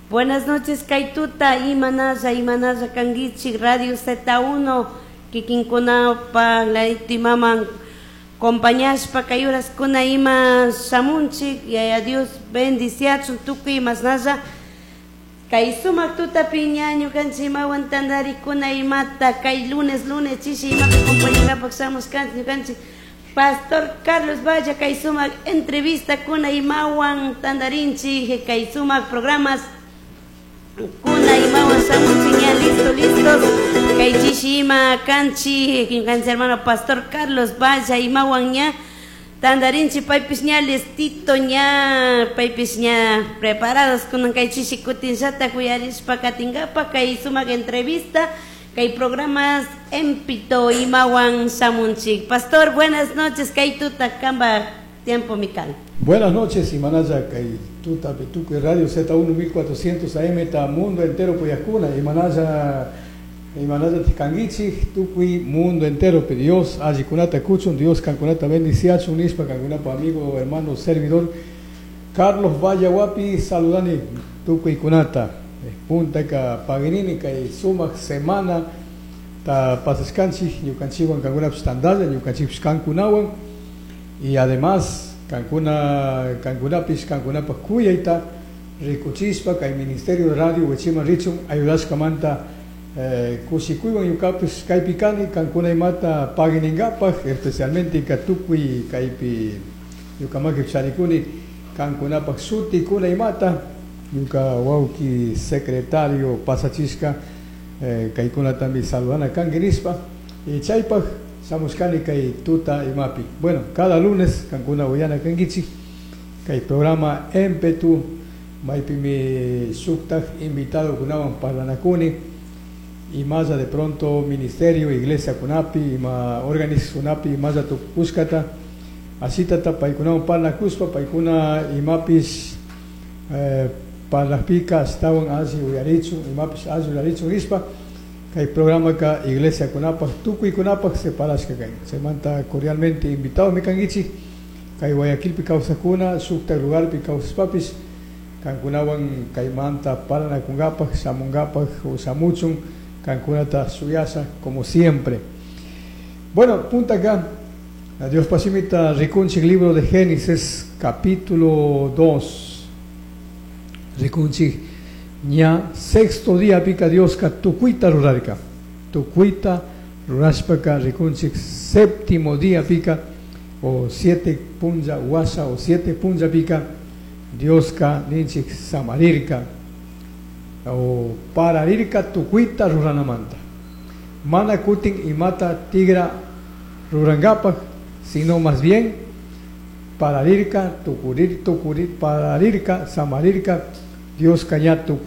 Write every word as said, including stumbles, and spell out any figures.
Buenas noches kay tuta imanalla imanalla kankichik Radio Z uno kikinkunapaq imaman compañashpa kay uraskuna ima shamunchik. Yaya Dios bendiciachun tukuy imasnalla kay sumak tutapi ña ñukanchik imawan tantarikuna imata kay lunes lunes chishi imapi compañangapaq shamushkanchik ñukanchik Pastor Carlos Valla kay sumak entrevista kuna imawan tantarinchik kay sumak programas kuna imawan shamunchik ña listo listos kay chishi ima kanchik ñukanchik hermano Pastor Carlos Valla imawan ña tantarinchik, paypish ña listito, ña paypish ña preparados kunan kay chishi kutinllata uyarishpa katinkapak kay sumak entrevista kay programas Empito imawan shamunchik. Pastor, buenas noches, kay tuta kanpak tiempo mi kan. Buenas noches, imanalla kay tuta tukuy Radio Z uno mil cuatrocientos A M ta mundo entero uyajkuna, imanalla imanalla kankichik tukuy mundo entero. Dios allikunata kuchun, Dios kankunata bendiciachun nishpa kankunapa amigo, hermano, servidor Carlos Vallahuapi saludani tukuykunata. Puntaka paginini kay sumak semana ta pasashkanchik ñukanchikwan kankunapish tantalla ñukanchikpish kankunawan y además kankuna kankunapish kankunapak kuyayta rikuchishpa kay Ministerio de Radio wichiman richun ayudashkamanta eh, kushikuywan ñukapish kaypi kani kankuna imata pagininkapak, especialmente ka tukuy kaypi ñukamaki charikuni kankunapak shutikuna imata ñuka wawki secretario pasachishka eh, kaykunatami saludana kanki nishpa y chaypak shamushkani kay tuta imapi. Bueno, cada lunes kankuna uyana kankichik kay programa Empetu maypimi shuktak invitado kunawan parlanakuni imalla de pronto ministerio, iglesia kunapi, ima organizacionapi imalla tukushkata asitata paykunawan parlakuspa paykuna imapish eh, parlajpika ashtawan alli uyarichun imapish alli uyarichun nishpa kay programaka iglesia kunapak tukuykunapak separashka kan. Chaymanta cordialmente invitado mi kankichik kay Guayaquilpi kawsakuna shuktak lugarpi kawsashpapish kankunawan kaymanta parlanakunkapak shamunkapak o shamuchun kankunata shuyasha como siempre. Bueno, punta acá Dios pasimita rikunchik libro de Génesis capítulo dos. Rikunchik ña sexto día pika Dioska tukuyta rurarka, tukuyta rurashpaka rikunchik séptimo día pika o siete punlla washa o siete punlla pika Dioska ninchik samarirka o pararirka tukuyta ruranamanta, mana kutin imata tigra rurangapak, sino más bien pararirka tukurir tukurir pararirka samarirka Dioska ña.